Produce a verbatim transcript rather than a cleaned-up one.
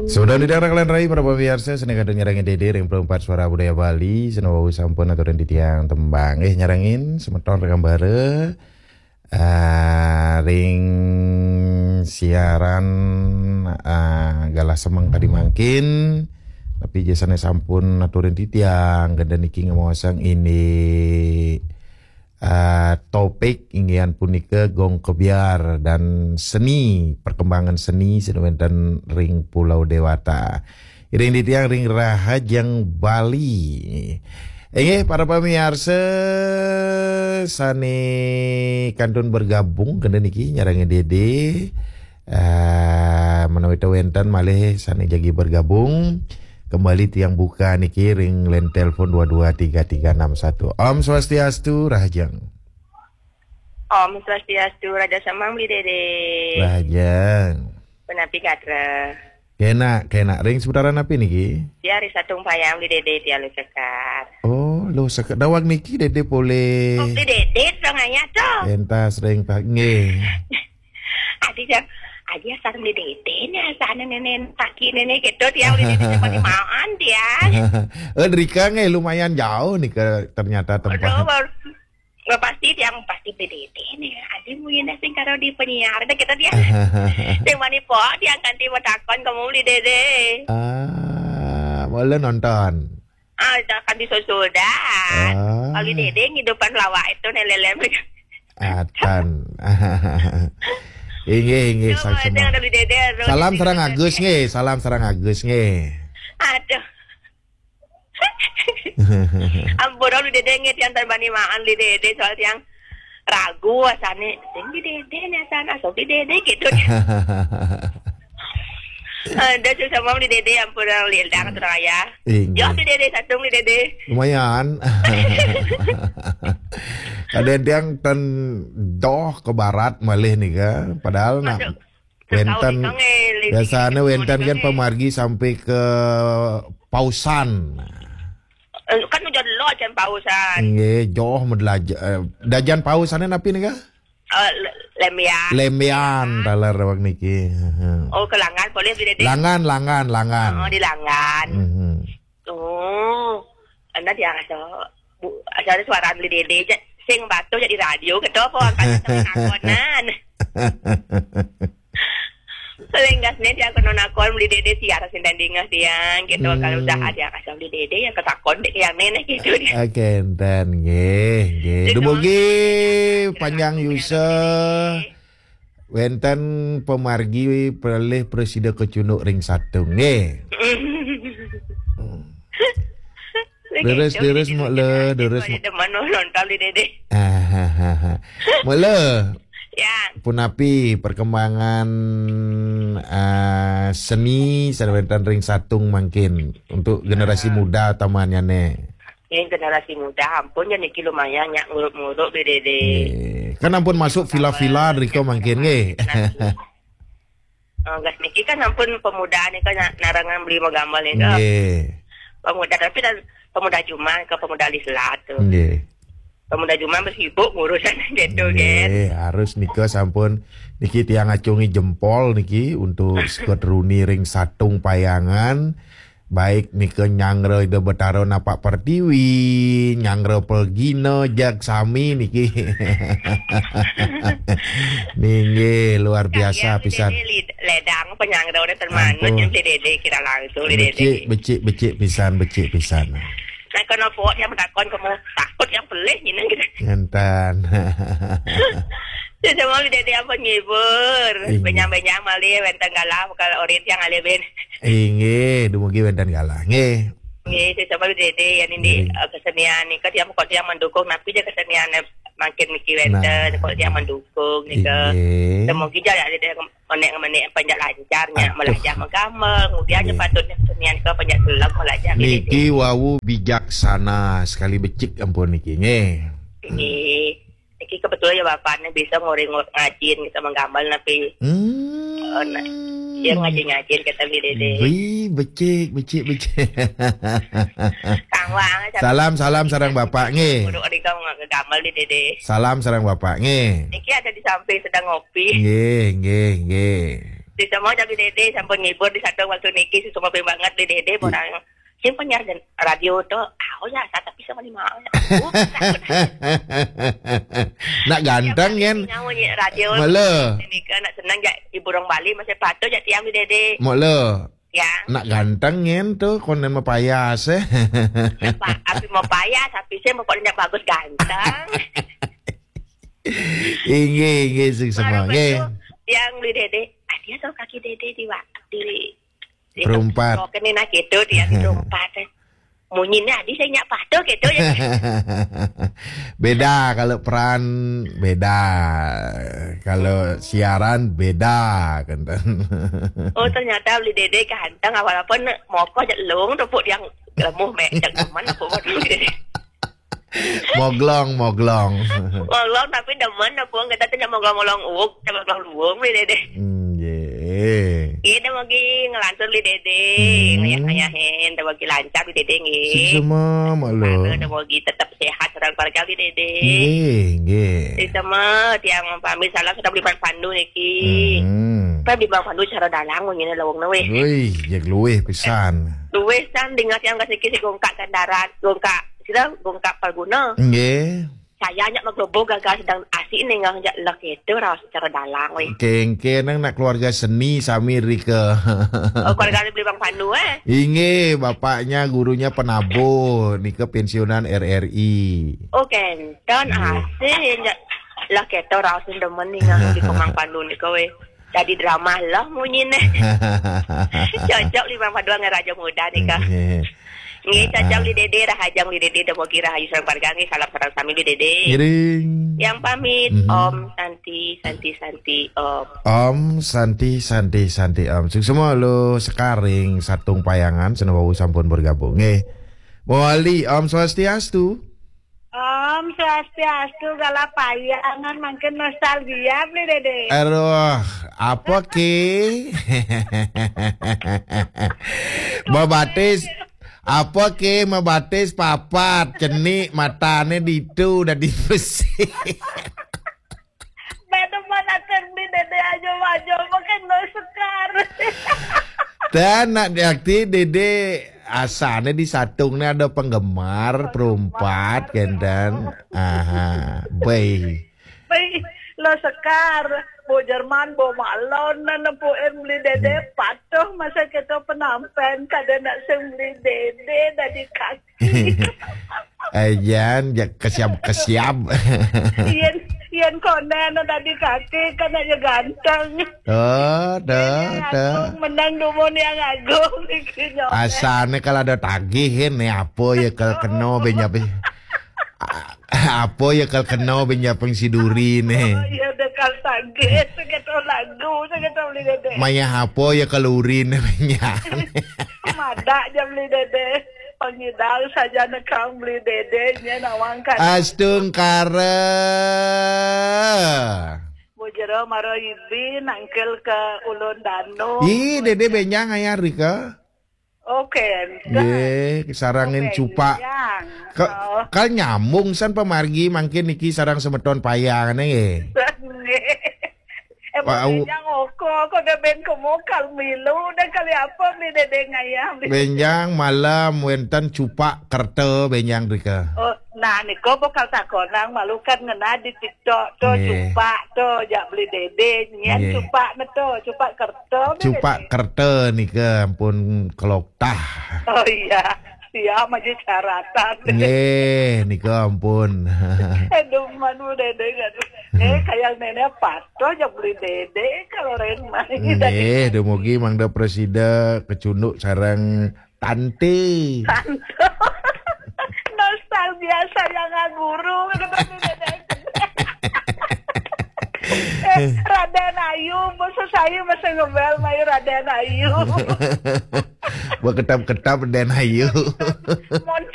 Sudah di daerah kalian rai para pemirsa, seni kadang nyarangin Dede ring empat Suara Budaya Bali, seni wau sampun aturin titiang tembang. Eh, nyarangin semeton ring ambara, ah, ring siaran, ah, galah semeng tadi mangkin, tapi jasane sampun aturin titiang, genda niki ngemaosang ini, ah, topik inggihan punika gong kebyar dan seni, perkembangan seni sane wenten ring Pulau Dewata. Iring titiang ring Rahajeng Bali. Inggih, para pamiarsa sane kantun bergabung kenten niki nyarengin Dede. Ah, menawi ta wenten malih sane jagi bergabung, kembali tiang buka niki ring line telepon dua dua tiga tiga enam satu. Om Swastiastu, Rahajeng. Om Swastiastu, Raja Semeng, Beli Dede. Rahajeng. Punapi gatra? Kenak, kenak. Ring seputaran napi niki? Ya, ring Satung Payang, Beli Dede, tiang Luh Sekar. Oh, Luh Sekar. Daweg niki Dede polih. Oh, Beli Dede, dong ayah to. Pentas ring pa-, nggih. Adi jang, adi asal Beli Dede nih, asal nenek kaki nenek gitu, tiang Beli Dede cuma dimaan, tiang. Eh, drika nggih lumayan jauh nih ke ternyata tempat. Aduh, baru, nggak pasti tiang pasti Beli Dede nih. Adi mungkin sing karo di penyiar deh kita dia. Sing mani po tiang kanti mau takon kamu Beli Dede. Ah, boleh nonton. Ah, jangan disusudan. Ah. Kalau Dede ngidupan lawak itu nih lelem. Atan. Inggih, inggih, Coba sang aja semua. Ada Beli Dede, aduh, Salam Dede, sareng Dede. Agus nggih, salam sareng Agus nggih. Aduh. Ampun, Beli Dede nggih, tiang tan bani maan Beli Dede, soal tiang ragu asane, sing Beli Dede nih asane, asal Beli Dede gitu. Ada susah mau Beli Dede, ampun, orang lindang, orang ayah. Inggih. Yo, Beli Dede, satu Beli Dede. Lumayan. Kadang tiang ten doh ke barat malih nih kan. Padahal nak Masuk. Wenten, Tahu nih, Kang, eh, lebih biasanya wenten kan pemargi sampai ke Pausan. Eh, kan udah lo acan Pausan. Nggih, joh medlaja-, eh, dajan Pausan napi nika? Eh, le-, Lembian. Lembian, taler awak niki. Heeh. Oh, ke Langan boleh Beli Dede? Langan, Langan, Langan. Oh, di Langan. Mhm. Oh, anda dia rasa, bu, asal suara Beli Dede je. Sing batu jadi radio gitu apa angkat temen akonan. Paling gas nih dia kena nakon Beli Dede siar sing tandingah tiang gitu. Hmm. Kalau usaha dia kasih Beli Dede yang ketakon dek yang nenek gitu dia. Oke, enten nggih, nggih. Dumugi panjang yuswa. Wenten pamargi pelih prasida kacunduk ring Satung nggih. Leres, leres, Mak Le, leres, Mak. Demen nonton Beli Dede. Mak Le. Ya. Punapi perkembangan, ah, seni sane wenten ring Satung mangkin untuk generasi muda tamannyane? Ini generasi muda, ampun ya niki lumayan nyak nguruk-nguruk Beli Dede. Nggih. Kan ampun masuk vila-vila rika mangkin nggih. Oh, gas niki kan ampun pemuda nih kan na-, narangan beli mau gambar nih kan. Nggih. Pemuda tapi dan pemuda Juma ke pemuda Lislat tuh. Nggih. Pemuda Juma bersibuk ngurusan gitu kan. Nggih, harus nika sampun niki tiang acungi jempol niki untuk Scott Rooney ring Satung Payangan. Baik nika nyanggra Ida Betara napak pertiwi, nyanggra pelgina jag sami niki. Ninggih, luar biasa pisan. Ledang penyanggra udah termanut. Ampun. Yang Beli Dede kira langsung Beli Dede. Becik, becik, becik pisan, becik pisan. Nah, kena pok yang takon kamu takut yang pelih gini gitu. Ngentan. Saya mau Beli Dede apa ngibur. Inggih. Benyang-benyang malih wenten galah bakal orin yang alih ben. Inggih, dumugi wenten galah. Nggih. Nggih, saya sama Dede ya ini, eh, kesenian nih, kan yang pokok yang mendukung, tapi dia kesenian, eh, makin mikir wenten, nah, kok dia mendukung nih ke. Inggih. Semoga dia ada yang menek-menek panjat lancar nya, aduh, melajah menggambar, kemudian nya patutnya kesenian ke panjat selam melajah. Niki wau bijaksana sekali becik ampun niki, nggih. Nggih. Niki kebetulan ya bapaknya bisa ngori ngajin kita menggambar napi. Hmm. Eh, nah, dia ngajin-ngajin kita Beli Dede. Wih, becik, becik, becik. Kang Wang, salam, salam sareng bapak nggih. Guru Rika ngegambar Beli Dede. Salam sareng bapak nggih. Niki ada di samping sedang ngopi. Nggih, nggih, nggih. Di semua jadi Dede sampun ngibur di satu waktu niki, suksma banget di Dede, orang. Sing penyiar radio to, oh ya, tapi sama di mana? Nak ganteng kan? Nyawa nyi radio. Mula. Ini kan nak senang jak ibu orang Bali masih patuh jak tiang di Dede. Mula. Ya. Nak ganteng kan tu konen mapayas eh. Apa, api mau payah, tapi saya mau kok bagus ganteng. Inggih, inggih, suksma. Nggih. Tiang di Dede. Ah, dia tahu kaki Dede di waktu di Perumpat. Kok kena nak gitu dia di perumpat. Munyinya adi saya nyak patuh gitu ya. Beda kalau peran, beda. Kalau siaran, beda kan. Oh, ternyata beli Dede ganteng, walaupun mokoh jelung tepuk yang lemuh mek jak teman aku mau dulu Dede. Moglong, moglong. Moglong tapi demen aku, kita tuh moglong-moglong uuk, moglong luung beli Dede. Nggih. Iya, dah bagi ngelantur beli Dede, Hmm. ngayah-ngayahin, dah bagi lancar beli Dede nggih. Suksma, Mak Lo. Dah bagi tetap sehat orang keluarga beli Dede. Nggih, nggih. Di sama tiang pamit salam sudah beli Bang Pandu niki. Hmm. Apa beli Bang Pandu cara dalang ngene lawang nawe. Wih, ya luwih pisan. Luwih kan dengar tiang kasih kisi gongkak kendaraan, gongkak sila gongkak Palguna. Nggih. Saya nyak maglobo gagal sedang asik nih ngah jak lek itu raos cara dalang weh. Kengke nang nak keluarga seni sami rika. Oh, keluarga beli Bang Pandu eh. Inggih, bapaknya gurunya penabuh, nika pensiunan R R I. Oh, kenten Nggih. Asik nyak lek itu raos demen nih ngah di Bang Pandu nih kowe. Jadi drama lah munyi nih. Cocok beli Bang Pandu dengan Raja Muda nih kah. Nggih. Nggih, cocok beli Dede, rahajang beli Dede, demogi rahayu sareng keluarga nggih, salam sareng sami beli Dede. Ngiring. Yang pamit Mhm. Om Santi, Santi, Santi, Om. Om Santi, Santi, Santi, Om. Suksma Lo Sekaring Satung Payangan, seneng wau sampun bergabung. Nggih. Mawali, Om Swastiastu. Om Swastiastu, gala payangan makin nostalgia beli Dede. Aduh, apa ke? Mabatis, apa ke mabatis papat, cenik matane ditu udah dipesi. Beda mana beli Dede aja aja makin no sekar. Dan nak diakti Dede asane di Satung ni ada penggemar perumpat kenten. Aha, baik. Baik, lo sekar. Bo Jerman, bo malon, nempuin beli Dede patuh masa kita penampen kada nak sing beli Dede dari kaki. Ayan, ya kesiap-kesiap. Ian, Ian konen dari kaki kan aja ganteng. Oh, dah, Yang dah. Agung menang dumun yang Agung iki nyoba. Asane kalau ada tagihin nih apa ya kalau kena benyap. Apa ya kalau kena benyap si duri nih. Iya dekal tagih, segitu lagu, segitu beli Dede. Maya apa ya kalau urin benyap. Madak aja beli Dede. Pengidal saja nekang beli Dede nya nawang kan. Astungkara. Bujero maro ibi nangkil ke ulun danu. Ih, Dede benyang ayah Rika. Oke. Ye, sarangin cupak. Ka, kal nyambung san pamargi mangkin niki sarang semeton payang nggih. Eh, Wah, au- yang oko, kok udah ben kemokal milu, udah kali apa beli Dede ngayah. Benjang malam wenten cupak kerta benjang Rika. Oh, nah niko bakal takonang malu kan ngena di TikTok tu Nggih. Cupak tu jak beli Dede nyian Nggih. Cupak ne tu Cupak kerta beli Cupak Dede. Kerta nika ampun keloktah. Oh iya, siap aja syaratan. Nggih, nika ampun. Aduh, manu Dede aduh. Eh, kayak nenek patuh aja beli Dede kalau Ren main. Nggih, dumugi mangda presida kecunduk sareng tante. Nostalgia saya nggak guru. Eh, Raden Ayu, bos saya masih ngebel main Raden Ayu. Berketap-ketap dan ayu. Mon